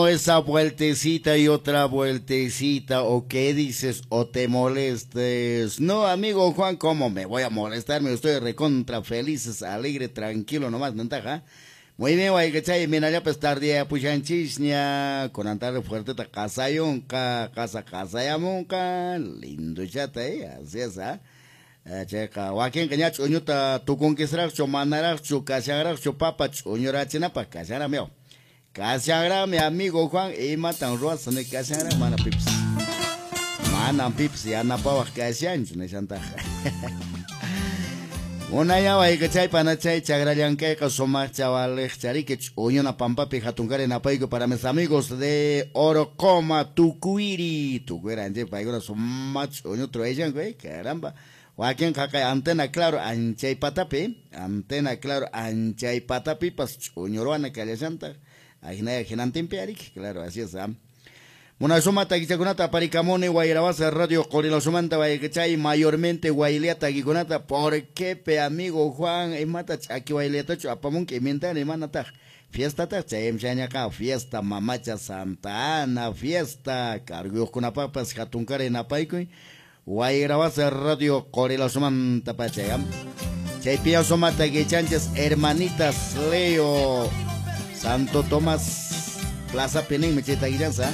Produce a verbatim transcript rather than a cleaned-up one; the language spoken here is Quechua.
Esa vueltecita y otra vueltecita, o qué dices, o te molestes. No, amigo Juan, ¿cómo me voy a molestar? Me estoy recontra feliz, alegre, tranquilo, nomás, ventaja. Muy bien, wayqichay, minallapas tardía pushanchisña, con antar fuerte qasayunqa, qasa qasayamunqa, lindo chata, eh, así es, ¿ah? Chayqa wakinqa ña ch'uñuta tukunkisraqchu manaraqchu kashanraqchu papa ch'uñurachinapaq kashanraqmi. Kashanraqmi, amigo Juan, imatan ruwasaq ni kashanraq mana pipas manam pipas yanapawaq kashanchu nishantaqa. Unaya wayqichay panachay chakrallanqayqa sumaq chawaliqchariki ch'uñuna pampapi hatunkari napayku para mis amigos de Orocoma Tucuiri Tucuiri anche paykuna sumaq ch'uñu truayshanku, eh, caramba. Wakin qaqay antena claro anchay patapi, antena claro anchay patapipas ch'uñuruwana kallashantaq ajinaya hinantinpi ariki, claro, así es, ¿ah? Munasuma takichakunata aparikamuni Wayrawasa Radio Qorilasumanta wayqichay mayormente waylia takikunata. ¿Por qué pe amigo Juan imata ch'aki wayliatachu apamunki imintani imanataq fiestataq chayamshañaqa fiesta mamacha Santa Ana fiesta carguyuqkunapapas hatunkari napaykuy Wayrawasa Radio Qorilasumanta pachay. Chaypiya suma takichanchis hermanitas Leo Santo Tomás Plaza Pininmi chay takichansa.